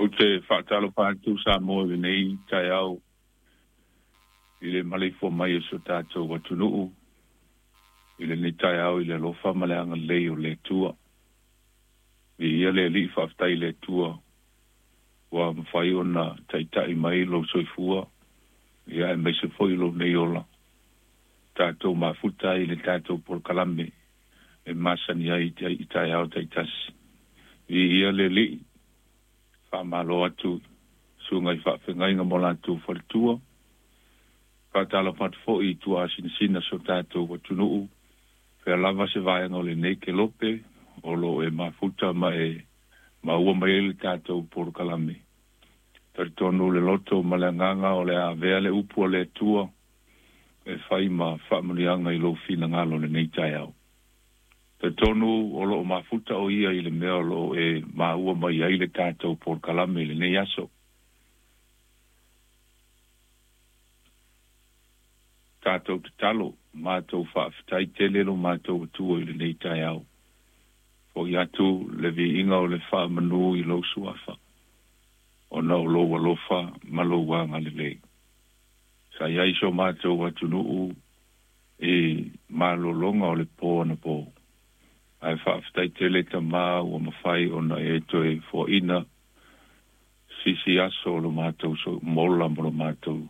Ou te faatalofa atu Samoa i lenei taeao i le maleifua mai o si o tatou atunuu i lenei taeao i le alofa ma le agalelei o le Atua. Viia le Alii, faafetai i le Atua ua mafai ona taitai mai lou soifua ia aemaise foi lou nei ola. Tatou mafuta ai i le tatou polokalame e masani ai i taeao taitasi. Viia le Alii, faamalo atu susuga i faafeagaiga mo latou faletua. Faatalofa atu foi i tuasinasina si o tatou atunuu, fea lava se vaega o lenei kelope o lo o e mafuta ma e maua mai ai le tatou polokalame. Talitonu le loto ma le agaga o le a avea le upu a le Atua e fai ma faamanuiaga i lou finagalo lenei taeao. Talitonu o lo o mafuta o ia i le mea o lo o e maua mai ai le tatou polokalame i lenei aso. Tatou tatalo, matou faafetai tele lo matou Atua i lenei taeao. Fo'i atu le viiga o le faamanu i lou suafa, ona o lou alofa ma lou agalelei. Sa i ai so matou atunuu i malologa o le po anapo. Ae faafetai tele Tama ua mafai ona e toe foaina sisi aso o lo matou mola ma lo matou